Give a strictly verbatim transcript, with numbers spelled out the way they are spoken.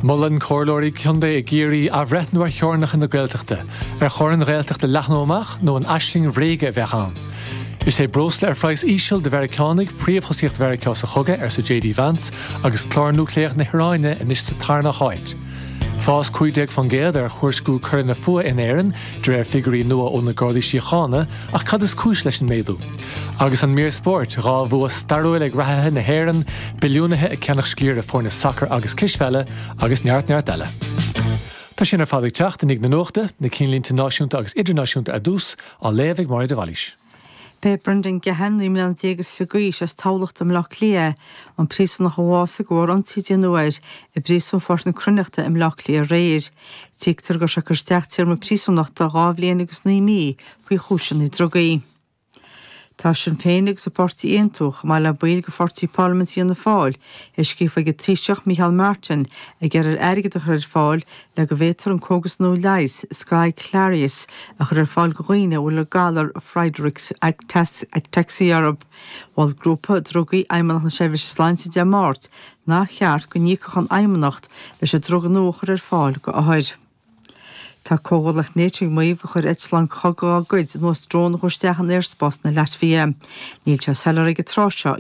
Molann comhairleoirí contae i gCiarraí athbhreithniú ar theorainneacha na Gaeltachta, ar chóir an Ghaeltacht a leathnú amach nó an aisling bhréige a bheith ann. Is é breosla ar phraghas íseal do Mheiriceánaigh príomhthosaíocht Mheiriceá sa chogadh arsa J D Vance agus clár núicléach na hIaráine anois sa tarna háit. Fás cúig déag faoin gcéad ar thuairisciú coireanna fuatha in Éirinn de réir figiúirí nua ó na Gardaí Síochána ach cad is cúis leis an méadú. Agus an mír spóirt dhá bhua stairiúil ag reathaithe na hÉireann, billiúnaithe ag ceannach sciar i bhfoirne sacair agus cispheile agus neart neart eile. Tá sin ar fad ag teacht i ndiaidh na nuachta, na cinnlínte náisiúnta agus idirnáisiúnta ar dtús á léamh ag Máire de Bhailís. B'é Brendan Gahan naoi mbliana déag is fiche d'aois as Tamhlacht i mBleá Cliath, an príosúnach a bhásaigh de bharr ionsaí a déanadh air i bpríosún Pháirc na Cruithneachta i mBleá Cliath aréir. Tuigtear go raibh sé ag cur isteach téarma príosúnachta dhá bhliain agus naoi mí faoi chúiseanna drugaí. Tá Sinn Féin agus an páirtí Aontú chomh maith le baill de pháirtí Parlaiminte Fhianna Fáil ag scríobh chuig an Taoiseach Micheál Martin ag iarraidh airgead a chur ar fáil le go bhféadfar an cógas nua leighis Skyclarys a chur ar fáil do dhaoine a bhfuil an galar Friedreich's ataxia orthu. Mhol grúpa drugaí Fheidhmeannacht na Seirbhíse Sláinte Dé Máirt nach cheart go n-íocfadh an Fheidhmeannacht leis an druga nua a chur ar fáil do othair. Tá comhghuallaíocht NATO ag maíomh gur chuir eitleán cogaidh dá gcuid anuas drón a chuir isteach in aerspás na Laitvia. Níl sé soiléir ag an tráth seo.